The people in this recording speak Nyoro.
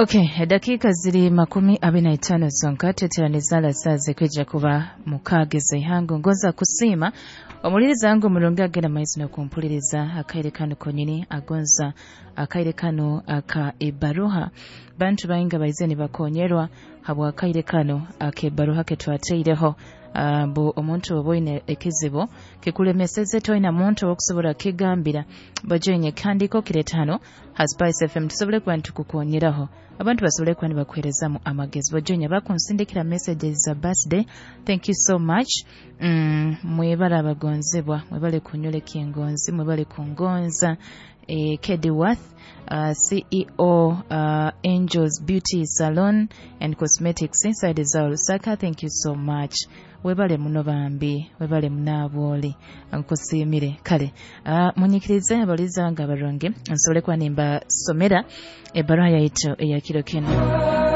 Okay, edakiika ziri 25 zonka tweteraniza saa zikwija kuba 6 z'eihangwe. Ngonza kusiima omuliriza wange omurungi agenda maiso n'okumpuliriza akaire kanu konyini, agonza akaire kanu aka ebaruha. Bantu bainga baize nibakonyerwa habw'akaire kanu ak'ebaruha ketwateireho. Mbu omuntu oba oine ekizibu kikulemeseze, toina muntu ow'okusobora kukigambira, bajoine ekihandiiko kireeta hano ha Spice FM tusobole kuba nitukukonyeraho, abantu basobole kuba nibakuheerezamu amagezi. Bajoine bakunsindikira messages za birthday, thank you so much. Mwebale abagonzebwa, mwebale kunyoleka engonzi, mwebale kungonza. Kedi Worth, CEO, Angels Beauty Salon and Cosmetics inside za Lusaka, thank you so much. Webale muno bambi, webale munaabwoli, nkusiimire. Kale munyikirize abaliza nga abarungi nsobole kuba nimbasomera ebbaruha yaitu eya kiro kinu.